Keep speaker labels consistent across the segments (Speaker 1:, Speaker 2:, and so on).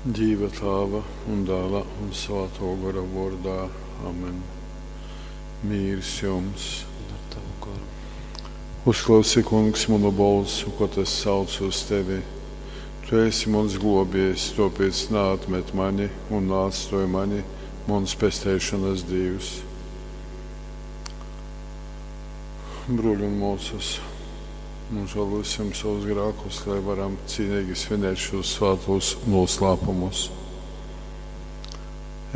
Speaker 1: Dīva Tāva un Dāla un Svātō Gora vōrdā. Amen. Mīrs jums!
Speaker 2: Un ar tavu goru.
Speaker 1: Uzklausi, Kungs, munu bolsu, kod es saucu uz tevi. Tu esi muns glōbiejs, tōpēc naatmet mani un naatstōj mani, muns pesteišonas Dīvs. Brōļi un mōsas, nožālosim savus grēkus, lai varam cīnīgi svinēt šos svātos noslēpumus.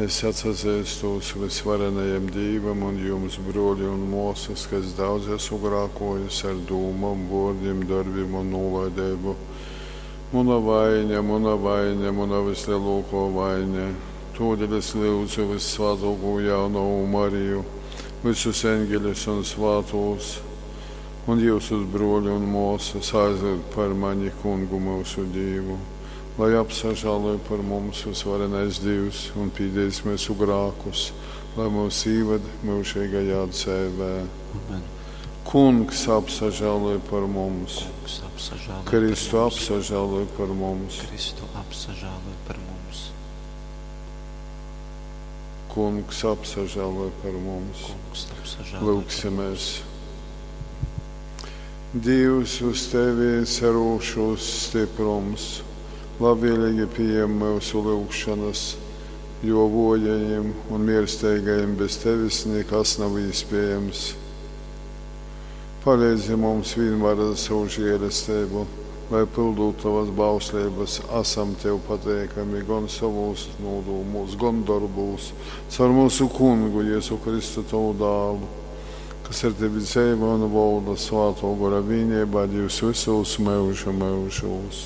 Speaker 1: Es atsazīstos visvarenajam Dīvam un jums, brōļi un māsas, ka es daudz esmu grēkojis ar dūmām, vārdiem, darbiem un nolaidību. Muna vaina, muna vaina, muna vislielākā vaina. Tādēļ es lūdzu vissvētāko jaunavu Mariju, visus eņģeļus un svātos, un jūsus brōļi un māsas aizlūgt par mani kungu mūsu Dievu, lai apsažāloj par mums visvarenais Dievs un pīdēs mūsu grākus, lai mūs īved mūžīgajā dzīvē.
Speaker 2: Amen.
Speaker 1: Kungs apsažāloj par mums,
Speaker 2: Kungs apsažāloj
Speaker 1: Kristu
Speaker 2: par mums.
Speaker 1: apsažāloj par mums,
Speaker 2: Kristu apsažāloj par mums.
Speaker 1: Kungs apsažāloj par mums.
Speaker 2: Kungs apsažāloj par
Speaker 1: Lūksimies. Dievs uz tevi cerūšos stiprums, labvēlīgi pieņem mūsu lūgšanas, jo vojajiem un miersteigajiem bez tevis nekas nav iespējams. Palīdzi mums vienmēr ar savu žēlastību, lai pildot tavas bauslības, esam tev pateikami gan savos nodūmos, gan darbos, caur mūsu kungu Jēzu Kristu tavu dālu, kas ar tevi dzīvo un valda svāto gora vienībā Dievs visos mūža mūžos.